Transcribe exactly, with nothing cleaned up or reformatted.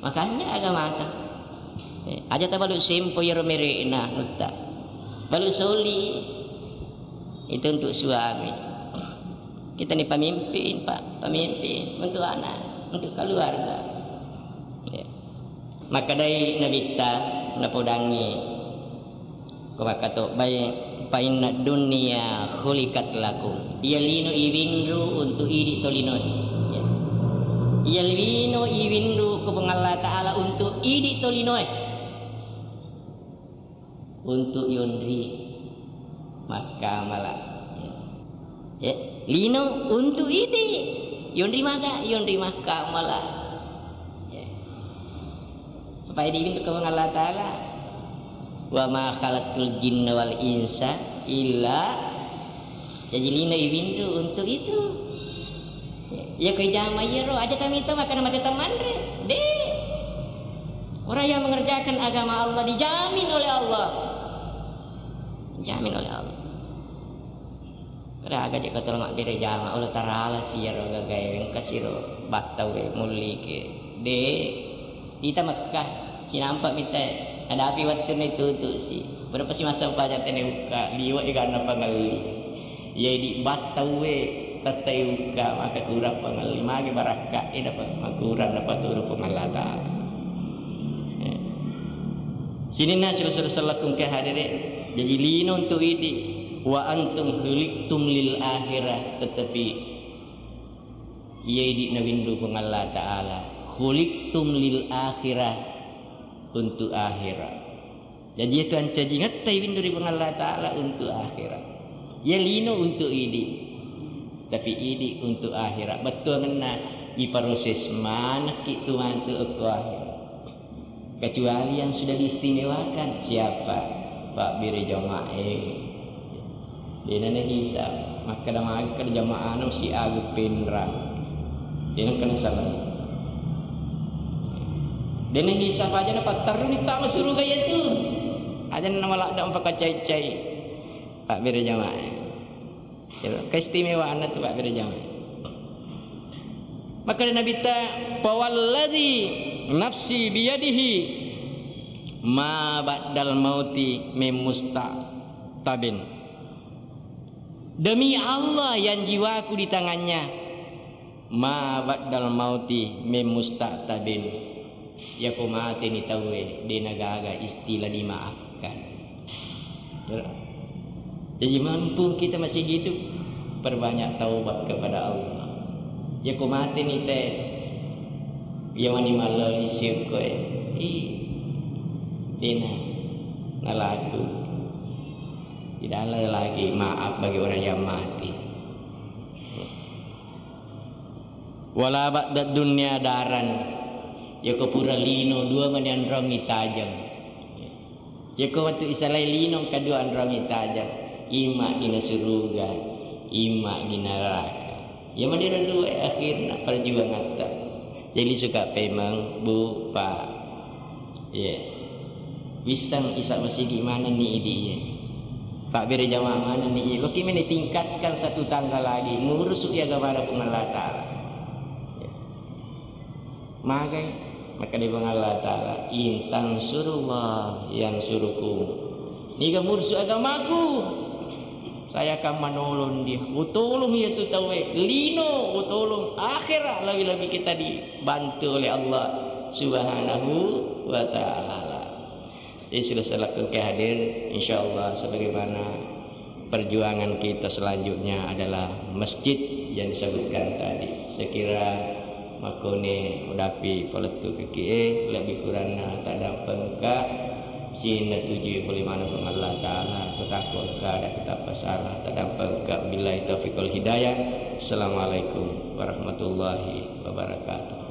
Makanja agamata. Eh, aja tabalu sempo iyaro mere'na nutta. Balu soli itu untuk suami. Kita ni pemimpin, Pak, pemimpin untuk anak, untuk keluarga. Ya. Makkedai Nabitta napodangngi ko makkatobbai, "Fa inna dunya khuliqat lakum." Iya lino iwinru untuk idi tolinoe. Ya. Iya lino iwinru ko Puang Allah Ta'ala untuk idi tolinoe. Untuk yonri makkamala. Ya. Ya. Lino untuk idi. Yonri maga, yonri makkamala. Ya. Apa idi itu ko Puang Allah Ta'ala? "Wa ma khalaqtul jinna wal insa illa." Jaji lino iwinru untuk itu. Iya ko ijama iyaro, aja kami to makkeda mate temanre. De. Orang yang mengerjakan agama Allah dijamin oleh Allah. Dijamin oleh Allah. Raga je ko tolong mabbere jama, Allah Ta'ala siro gagae engka siro battau e mullike. De, ita Mekkah, sinampa mita, nadapi wettunna itutu si. Berapa si masa paja tene ukka, liwa e ganna pangelli. Iya idi battau e, tette ukka, maka kurang pangelli, magi barakka e dapat makurang dapat turu Puang Allah Ta'ala. Eh. Sininna sila-sila sellakung ke hadere, jaji lino untuk idi. Wa antum khuliqtum lil akhirah, tetapi iya idi nawinru Puang Allah Ta'ala. Khuliqtum lil akhirah, untuk akhirat. Jaji itu ancajingetta iwinru ri Puang Allah Ta'ala untuk akhirat. Iya lino untuk idi. Tapi idi untuk akhirat. Bettuangenna iproses manekki tu mantu okko akhirat. Kecuali yang sudah diistimewakan. Siapa? Pabbere jamaah e. Dena nahisab. Makkeda magi keda jamaah anu si Agung Penrang. Dena kena salah. Dena hisab aja na patterru ni tama suruga iya tu. Aja na maladda mpaka cai-cai. Pabbere jamaah. Keistimewaanna tu pabbere jamaah. Maka Nabi ta, "Fawalladzi nafsi biyadihi ma ba'dal mauti min musta'tabin." Demi Allah yang jiwaku di tangannya, ma ba'dal mauti min musta'tabin. Yako mateni tauwe, de nagaga istilah dimaafkan. Jadi mumpung kita masih hidup, perbanyak taubat kepada Allah. Yako mateni te, iya mani malloli syukur, ih, dena nalaku. Tidak ada lagi maaf bagi orang yang mati. Wala ba'da dunya daran. Yako pura lino dua mani anrongi tajeng. Yako wettu isalai lino kedua anrongi tajeng. Ima dina suruga, ima dina neraka. Ya madira dua akhirna perjuangatta. Jadi suka pemeng, Bu, Pak. Iya. Wisseng isa masigi manenni idi, iya. Pabbere jamaah manenni, iya. Loki meni tingkatkan satu tangga lagi, murusu iya agama Puang Allah Ta'ala. Iya. Magai, maka di Puang Allah Ta'ala, "In tansurullah yansurukum." Niga murusu agamaku, saya akan menolong dia. Utolong iya tu tauwe. Lino, utolong. Akhirat lebih-lebih kita dibantu oleh Allah Subhanahu wa Ta'ala. Jadi, sudah selaku ke hadir, insya Allah sebagaimana perjuangan kita selanjutnya adalah masjid yang disebutkan tadi. Saya kira Makkoni udapi palettu kekie, lebih kuranna tadampengka, sinna tujui pole maneng Puang Allah Ta'ala, kutakko kada kutappa salah, tadampengka, billahi taufiq wal hidayah. Assalamualaikum warahmatullahi wabarakatuh.